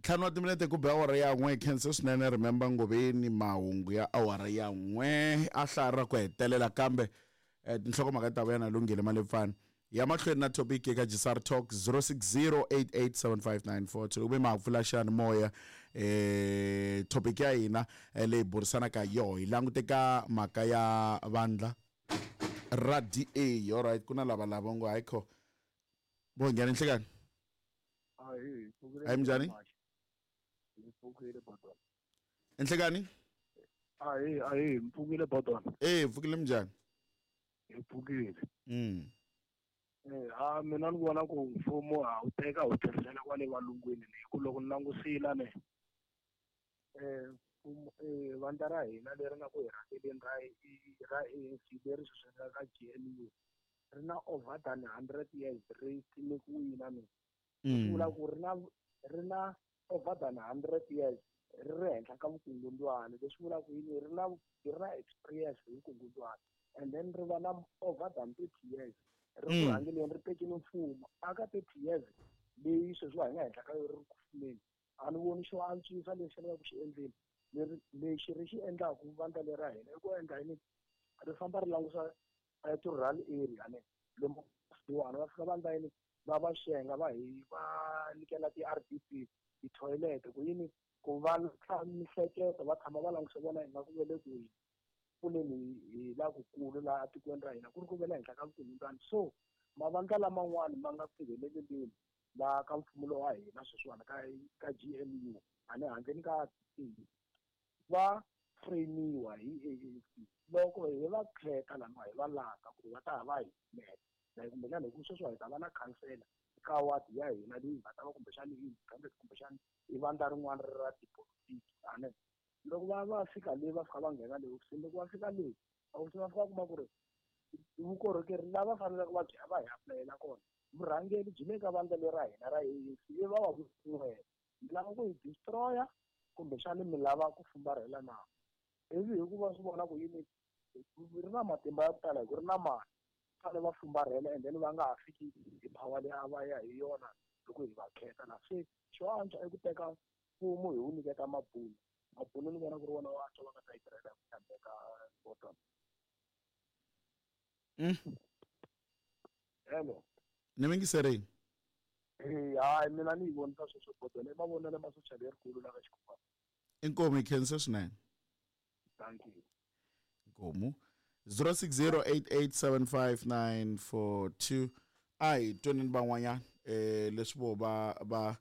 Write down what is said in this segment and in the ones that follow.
Ntlhanu wa timinete ku be awara ya n'we. Khense swinene. Remember Ngoveni, mahungu ya awara ya n'we a hlaya ra ku hetelela, kambe tinhlokomhaka ta vuya na Lunghile Malepfana. Ya mahlweni na topic eka Gisar Talk 0608875942. Loko mi ma pfula xiyanimoya, topic ya hina leyi burisanaka yoho hi langute ka mhaka ya vandla ra DA. Alright, ku na lava lava ngo hayi kho vo nghena nhlikani. Ahee, pfukile. Hayi, minjhani? Hi pfukile, Bodon. Enhlekani. Ahee, ahee, mpfukile, Bodon. E pfukile, minjhani? Hi pfukile. Ha mina ni vona ku mfumo ha wu teka wu tlherisela kwale valungwini ni hi ku loko ni langusile ne mfumo vandla ra hina leri nga ku hi rhangeleni ra ANC leri sweswi nga ka GNU ri na over than 100 years ri simekiwile ne. Swi vula ku ri na over than 100 years ri ri henhla ka vukungundwani. Leswi vulaka yini? Ri na experience hi vukungundwani, and then ri va na over than 30 years ri ku rhangeleni, ri tekile mfumo. Aka 30 years leyi sweswiwa hi nga henhla ka yo ri ri ku fumeni, a ni voni xo antswisa lexi lavaka ku xi endleni. Leri lexi ri xi endlaku vandla leri ra hina i ku endla yini? Ri famba ri langusa ti-rural area ne, lomu kusuhani va fika va endla yini? Va va xenga, va hi va nyikela ti-RDP, ti-toilet, ku yini? Ku va mihleketo va tshama va languse vona ingaku ve le ku hi pfuneni hi lakukulu laha tikweni ra hina ku ri ku ve le henhla ka vukungundzwani. So mavandla laman'wani ma nga ku ngheneleleni laha ka mfumo lowu wa hina sweswiwani ka GNU, a ni handleni ka va frame-iwa hi ANC. Loko hi va khetha laniwa, hi va langa ku va ta va hi yimela like kumbexana, hi ku sweswiwa hi ta va na khansela ka wadi ya hina leyi nga ta va kumbexana i independent, kumbexana i vandla rin'wana ri ra tipolotiki ane. Loko va fika le, va fika va nghena le hofisini, loko va fika le hofisini va fika va kuma ku ri vukorhokeri lava faneleke va byi va hi apulayela kona, vurhangeri byi le ka vandla leri ra hina ra ANC. I va va n'we mi lava ku hi destroy-a, kumbexani mi lava ku fumbarhela na? Ivi hikuva swi vona ku yini, ri na matimba ya ku tala hi ku ri na mali, fanele va fumbarhela and then va nga ha fiki hi power leyi a va ya hi yona loko hi va khetha. Na se xo antswa i ku teka mfumo hi wu nyiketa mabunu. Mabunu ni vona ku ri wona wo antswa va nga ta yi tirhela hi ku tshembeka, Bottom. Hello. Ni mingiserini. Eh, hayi, mina ni yi vonisa sweswo, Bottom, i mavonelo ma social lerikulu la ka xikhuwa. Inkomu, hi khense swinene. Thank you. Inkomu. 0608875942. A hi twaneni van'wanyana leswi vo va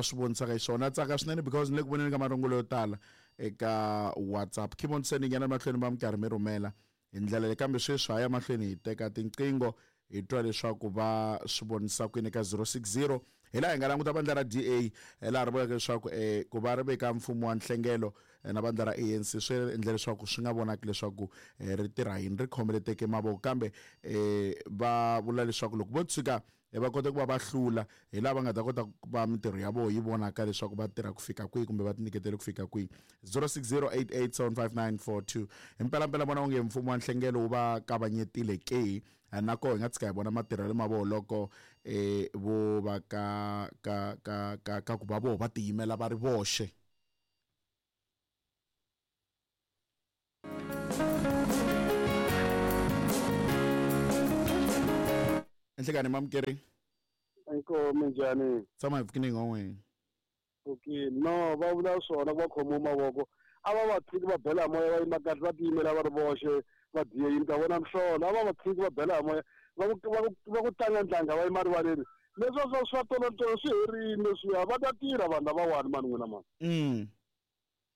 swi vonisaka hi swona. Tsaka swinene because ni le ku voneni ka marungulo yo tala eka WhatsApp. Keep on sending, yana mahlweni va mi karhi mi rhumela hi ndlela leyi, kambe sweswi ha ya mahlweni hi teka tinqingho hi twa leswaku va swi vonisa kwini ka 060. Hi laha hi nga languta vandla ra DA laha ri vulaka leswaku ku va ri veka mfumo wa nhlengelo na vandla ra ANC swi endle leswaku swi nga vonaki leswaku ri tirha yini, ri khomeleteke mavoko. Kambe va vula leswaku loko vo tshuka va kota ku va va hlula, hi laha va nga ta kota ku va mintirho ya vona yi vonaka leswaku va tirha ku fika kwihi kumbe va tinyiketele ku fika kwihi. 0608875942. Hi mpelampela vona onge mfumo wa nhlengelo wu va kavanyetile ke? Na koho hi nga tshika hi vona matirhelo ma voho loko vo va ka ku va voho va tiyimela va ri voxe. Enhlekani, mamukeri. Inkomu, njhani? Tshama hi pfukini n'wan'wini. Okay, no, va vula swona ku va khomiwe mavoko, a va va tshiki va bela moya, va yima kahle, va tiyimela va ri voxe. Va diye yini ta vona mihlolo? A va va tshiki va bela moya, va ku tlanga ntlanga, va yima rivaleni. Leswi swa tolotolo swi herile leswiya, va ta tirha vanhu lavawani mani n'wina mani.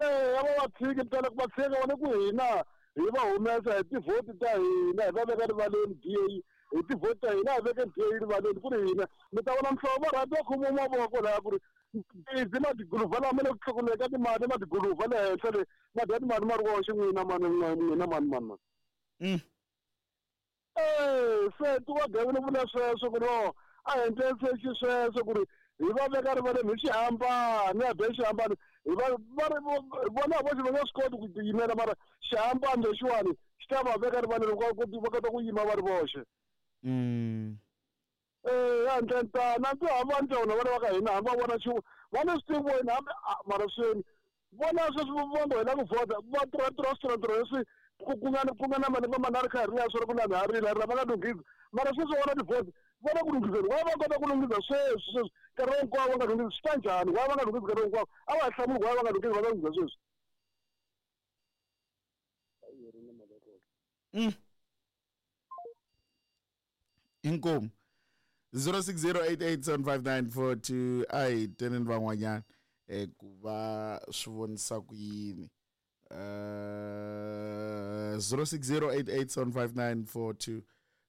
Eh, a va va tshiki ntsena, ku va tshika vona ku hina hi va humesa hi tivhoti ta hina, hi va veka rivaleni DA hi tivhoti ta hina, hi veke DA rivaleni ku ri hina. Mi ta vona mihlovo, va rhandza va khomiwa mavoko laya ku ri busy ma tiguluva lama le ku tlukuleni ka timali, ma tiguluva le henhla le ma dya timali ma ri woxe. N'wina mani, n'wina mani, mani, mani. Eh, se ti wa gavile vula sweswo ku no a hi endleni se xisweswo ku ri hi va veka rivaleni hi xihambano, ya be xihambano hi va va ri vona voxe va nga swi koti ku tiyimela, mara xihambano lexiwani xi ta va veka rivaleni, va kota ku yima va ri voxe. Ya ndlentana ndzi hamba ndlela vana va ka hina hamba vona xi va ni swi tivi hambi mara sweni vona sweswi va ngo hela ku vhota va tirha switirho leswi ku nga na malembe manharhu kha hi ri ya swona ku na ha rila va nga lunghisi mara sweswi vona tivhoti vona ku lunghiseni wa va kota ku lunghisa sweswi nkarhi hinkwawo va nga lunghisi swi ta njhani wa va nga lunghisi nkarhi hinkwawo a va hlamuli wa va nga lunghisi va nga lunghisa sweswi. Inkomu 0608875942 a hi tweneni van'wanyana ku va swi vonisa ku yini. 0608875942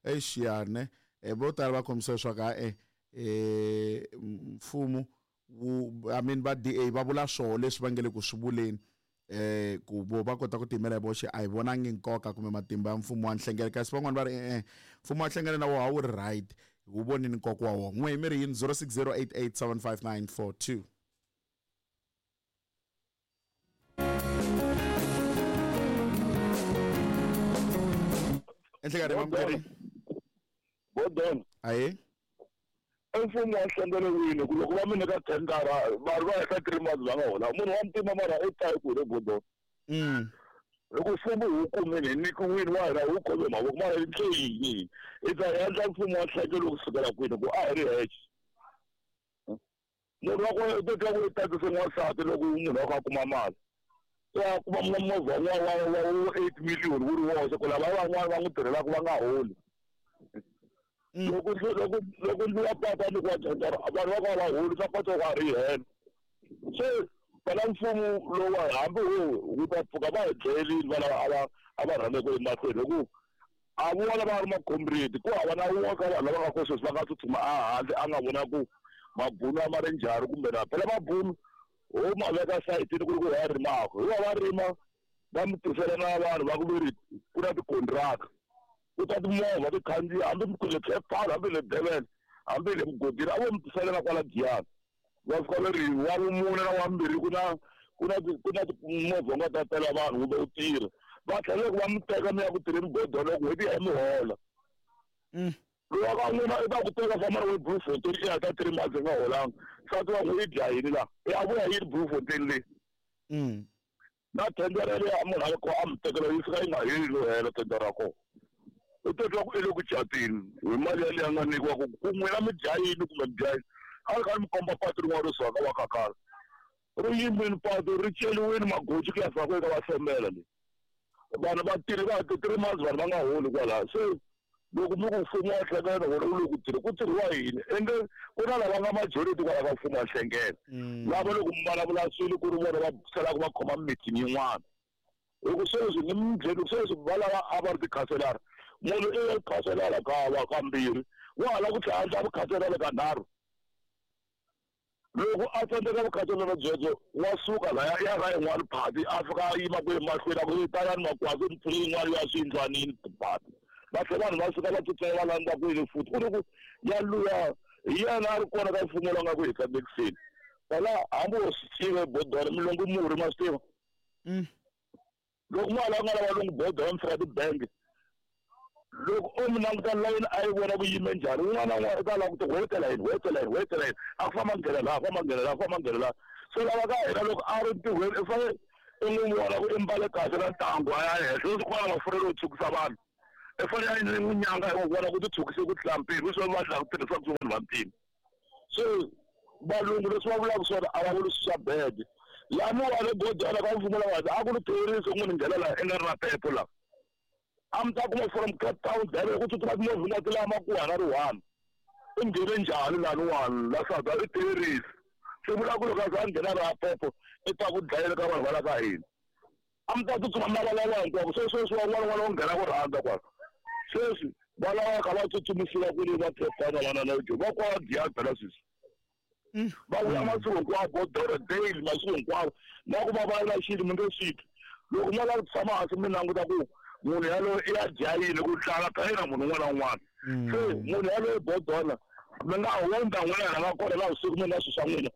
exiyane vo tala va kombisa leswaku a mfumo wu I mean va DA va vula swoho leswi va nge le ku swi vuleni ku vo va kota ku tiyimela hi voxe a hi vonangi nkoka kumbe matimba ya mfumo wa nhlengelo kasi van'wani va ri mfumo wa nhlengelo na wona a wu ri right wu vonini nkoka wa wona. N'we mi ri yini? 0608875942. Enhlekani mamukeri Bodon aye mfumo wa nhlengelo wini ku loko va mi nyika tendara vanhu va heta 3 months va nga hola munhu wa ntima mara i ta ku le Bodon. Loko mfumo wu kumile hi nyikiwile wa hina wu khome mavoko mara hi ndle yini hi ta endla mfumo wa nhlengelo kusukela kwini ku a hi ri hexe munhu wa kona u ta twa ku i tatise n'wansati loko munhu wa kha a kuma mali ya kuma movha wa 8 million wu ri woxe ku lava van'wana va n'wi tirhelaka va nga holi. Loko ndzi wa pata ni ku wa tendara vanhu va ka va holi swa pata wa ri hela se phela mfumo lowa hambi wu ta pfuka va hi dlayelini va lava a va rhangeke emahlweni hi ku a vona va ri makhombreti ku hava na wun'we ka vanhu lava nga ko sweswi va nga tsutsuma a handle a nga vona ku mabunu a ma ri njhani kumbe na phela mabunu ho ma veka sayitini ku ri ku va rimaka hi va rima va mi tisela na vanhu va ku veri ku na tikontraka ku ta timovha ti khandziya hambi le Cape Town hambi le Durban hambi le mugodini a vo mi tisela na kwala Giyani va fika va ri wa vumune na wa mbirhi ku na timovha nga ta tela vanhu kumbe u tirha va tlhela loko va mi teka mi ya ku tirheni Bodon loko n'hweti ya mi hola. Lowa ka n'wina i ta ku teka famba na we Bloemfontein i heta 3 months i nga holanga nsati wa n'we i dya yini laha i a vuya yini Bloemfontein leyi na tendera leyi a munhu a ko a mi tekela yi fika yi nga heli no hela tendera ra kona u ta twa ku i le ku catini hi mali yaleyi a nga nyikiwa ku n'wina mi dya yini kumbe mi dya yini a ri kha mi komba patu rin'wana ro suka ka va kakala ri yimini patu ri celiwini magoji ku ya fika ku eka va hlomela leyi vanhu va tirhi va 3 months vanhu va nga holi kwalaho se loko mi ku mfumo wa nhlengelo wona wu le ku tirhi ku tirhiwa yini ende ku na lava nga majority kwala ka mfumo wa nhlengelo lava loko mi vulavula swilo ku ri vona va salaka va khoma meeting yin'wana hi ku sweswi ni mi byeli sweswi va lava a va ri tikhanselara munhu i ya khanselara ka kambirhi wa ha lava ku tlhela a endla vukhanselara ka nharhu loko a tsandzeka vukhanselara byebyo wa suka laya ya ka yin'wana phati a fika a yima ku emahlweni a ku talani makwasi mi pfule yin'wana ya swiyindlwanini tiphati va tlhela vanhu va suka va tsutsuma va landza kwini futhi ku ri ku ya luya hi yena a ri kona ka mfumo lowu nga ku hi tsandzekiseni phela hambi wo swi tiva Bodon milongo murhi ma swi tiva loko mali a nga lava lungu Bodon mi fika tibangi loko o mi languta layini a yi vona ku yime njhani un'wana na un'wana u ta lava ku ti wetela yini wetela yini wetela yini a ku famba nghena laha famba nghena laha famba nghena laha se lava ka hina loko a ri ntirhweni i fanele i n'wi vona ku i mbale kahle na ntangu a ya henhla leswi ku va na mafurha yo tshukisa vanhu i fanele a n'wi nyanga hi n'wi vona ku ti tshukise ku tlula mpimo leswi va tlhela ku tirhisaka swi vanhu va ntima se valungu leswi va vulaka swona a va vuli swi swa bede laniwani Bodon ka mfumo lawa a ku ri terisi n'wini nghena laha i nga ri na phepho laha a mi ta kuma from Cape Town Durban ku tsutsuma timovha nga ti lama ku hana ri one i nghene njhani laniwani la South i terisi swi vula ku loko a za a nghena ra phepho i ta ku dlayela ka vanhu va la ka hina a mi ta tsutsuma mi lavalava hinkwako se sweswi van'wana n'wana wo nghena ku rhandza kwala sweswi va lava kha va tsutsumisiwa kwini va Cape Town vana na jo va kwala Giyani phela sweswi va vuya masiku hinkwawo Bodoro daily masiku hinkwawo na ku va vulavula xilo mi nge swi twi loko mo lava ku tshama hansi mi languta ku munhu yaloye i ya dya yini ku tlala ka yena munhu un'wana na un'wana se munhu yaloye Bodona mi nga hundza n'wina la nga kona la vusiku mi nga swilo swa n'wina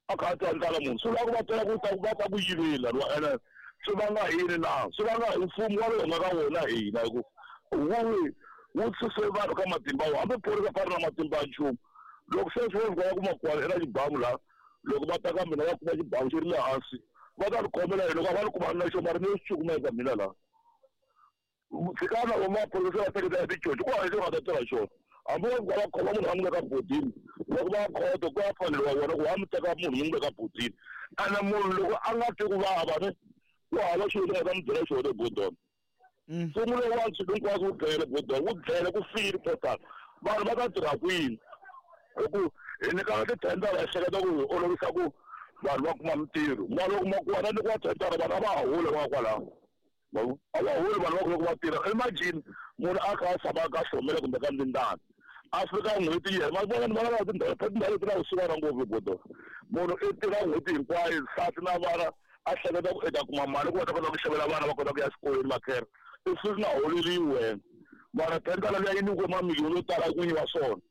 a kha a twa ndlala munhu swi vula ku va twela ku ta va ta ku yivela ene swi vanga yini na swi vanga hi mfumo wa lowu nga ka wona hina hi ku wu Wu suse vanhu ka matimba wa hambi phorisa fa ri na matimba ya nchumu. Loko se swi va kuma kwala eka xibamu laha, loko va ta ka mina va kuma xibamu xi ri le hansi, va ta ni khomela hi loko a va ni kumani na xo mara ni yo xi cukumeta mina laha. Tshikana vo maphorisa va teketela ticoci ku hava lexi va nga ta tirha xona. Hambi va va khoma munhu va n'wi veka bodini, loko va khoto ku ya faneriwa vona ku va mi teka munhu mi n'wi veka bodini. Ene munhu loko a nga twi ku vava ne ku hava xilo lexi nga ta mi byela xona ebodoni. Mfumo lowu wa swilo hinkwaswo wu dlele bodoni, wu dlele ku file total. Vanhu va ta tirha kwini? Hi ku hi nyikana tithendara hi hleketa ku hi olovisa ku vanhu va kuma mintirho. Mara loko makuwa na nyikiwa thendara vanhu a va ha holi va nga kwalaho. A va holi vanhu va ku loko va tirha. Imagine munhu a kha a tshama ka Hlomela kumbe ka Ndindana. A fika n'hweti yi hela, ma vona ni vona laha tindhawu tindhawu leti na vusiwana ngopfu bodo. Munhu i tirha n'hweti hinkwayo nsati na vana a hleketa ku i ta kuma mali ku va ta kota ku xavela vana va kota ku ya xikolweni makhera. I fika nga holeriwi wena. Mara thendara liya yi nyikiwe mamiliyoni yo tala n'winyi wa swona.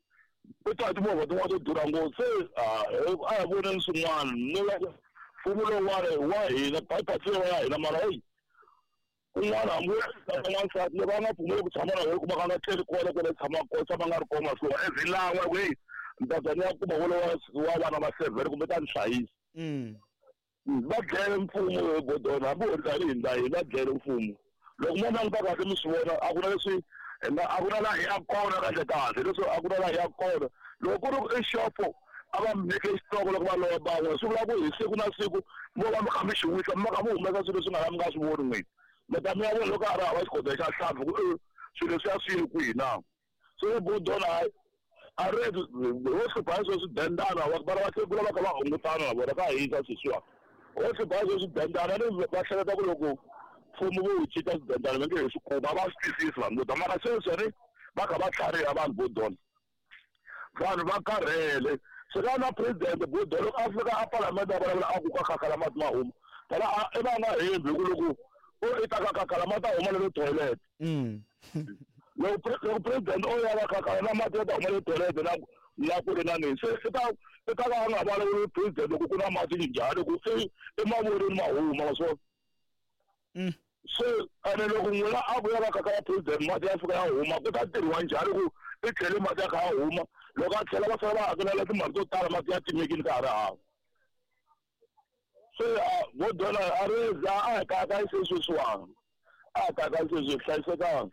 U ta hi timovha tin'wana to durha ngopfu. Se a hi voneni swin'wana. Ni mfumo lowuwani wa hina bypass ya hina mara heyi kun'wana hambi wo teka n'wansati loko a nga pfumeli ku tshama na wena kuma ka nga tleli kona kwale tshamaka kona tshama nga ri kona masiku every lan'we ku heyi ni ta za ni ya kuma wolowo wa vana va 7 kumbe ta ni hlayisa. Va dlele mfumo godona hambi ho ri hi ndla yini va dlele mfumo. Loko mo languta kahle mi swi vona a ku na leswi hi nga a ku na laha hi yaka kona kahle kahle leswi a ku na laha hi yaka kona. Loko ku ri ku i xopo a va mi nyike xitoko loko va lova van'we swi vula ku hi siku na siku mo va mi kha mi xi wisa mi va kha mi humesa swilo leswi nga la mi nga swi voni n'wina. Mi ta mi ya vona loko a ri hava xigodlo xa nhlampfi ku swilo leswiya swi ye kwihi na. Se bodona hayi a ri ho hlupha hi sweswi dendana vana va hlekula va kha va hungutana na vona ka hisa sweswiwa. Ho hlupha hi sweswi dendana ni va hleketa ku loko mfumo vo wu cinca swidendana va nge he swi kumi a va swi twisisi vanhu vo tala mara sweswi ni va kha va tlhariha vanhu vo dona. Vanhu va karhele. Swi nga na president Bodolo loko a fika a palamende a vulavula a ku ka khakhala mati ma huma. Phela i va nga hembi hi ku loko o i ta ka khakhala mati a huma le toilet. Loko loko president o ya va khakhala na mati ya ta huma le toilet na na ku ri na nini. Se i ta i ta va a nga vulavuli president loko ku na mati njhani ku i i ma vonile ma huma ma swi vona. Se ene loko n'wina a ku ya va kaka ya president mati ya fika ya huma ku ta tirhiwa njhani ku i tlhele mati ya kha ya huma loko a tlhela va sala va hakelela timali to tala mati ya timekile ka ha ri hava. Se vo dona a ri za a hi kayakayi se sweswiwani a hi kayakayi sweswi hi hlayisekanga.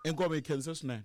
Inkomu hi khense swinene.